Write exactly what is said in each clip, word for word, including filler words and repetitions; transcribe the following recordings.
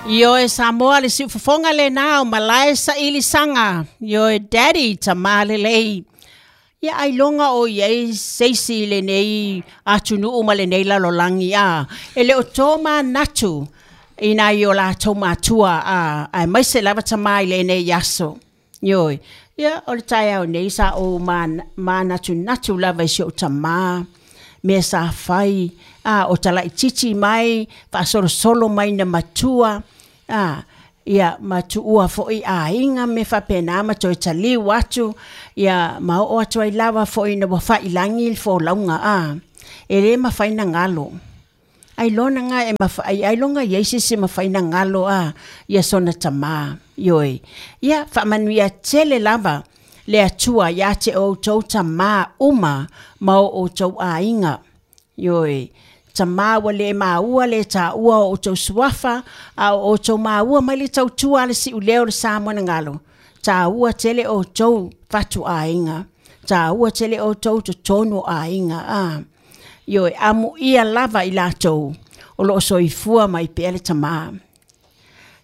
Ioe Samoa le siufofoga lenā o malae sailisaga. Ioe daddy tamā lelei. Ia ailoga o i ai seisi i lenei atunuu ma lenei lalolagi a. E le o to manatu i nai o latou matua a, aemaise lava tamā i lenei aso. Ioe. Ia o le taeao nei sa ou manatunatu lava i si ou tamā, mea sa fai, a, o talaititi mai, faasolosolo mai na matua, a, ia ma tuua foi aiga me faapena ma toe taliu atu, ia ma oo atu ai lava foi ina ua failagi le folauga a. E lē mafai na galo. Ailoga e mafai, ailoga i ai se isi e mafai na galo a, ia sona tamā. Ioe. Ia faamanuia tele lava le Atua iā te outou tamā uma ma o outou aiga. Ioe. Tamā ua le maua le taua o outou suafa, a o outou maua mai le tautua a le siuleo o le Samoa na galo. Taua tele outou fatuaiga. Taua tele outou totonu o aiga a. Ioe, amuia lava i latou o loo soifua mai pea le tamā.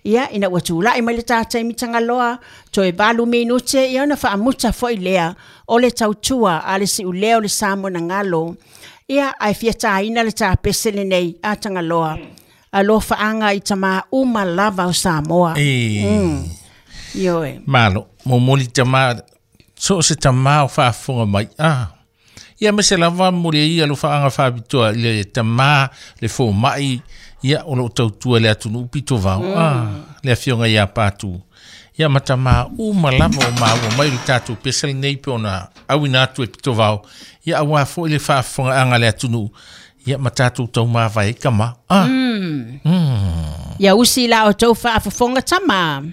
Ia, ina ua tulai mai le ta taimi Tagaloa, toe valu minute, ia ona faamuta foi lea o le tautua a le siuleo o le Samoa na galo. Ia, ae fia tāina le tapese lenei a Tagaloa. Alofaaga i tamā uma lava o Samoa. E Mm. Ioe. Malo, momoli tamā, so o se tamā o faafofoga mai. Ah. Ia ma se lava mo le ia alofaaga faapitoa i le tamā le fomaʻi ia o loo tautua le atunuu pito vao. Mm. Ah, le afioga iā Patu. Ia ma tamā uma lava o maua mai le tatou pese lenei pe ona auina atu e pito vao. Ia auā foi le faafofogaaga le atunuu. Ia ma tatou taumavae ai kama. Ah. Mm. Mm. Ia usi la outou faafofoga tamā.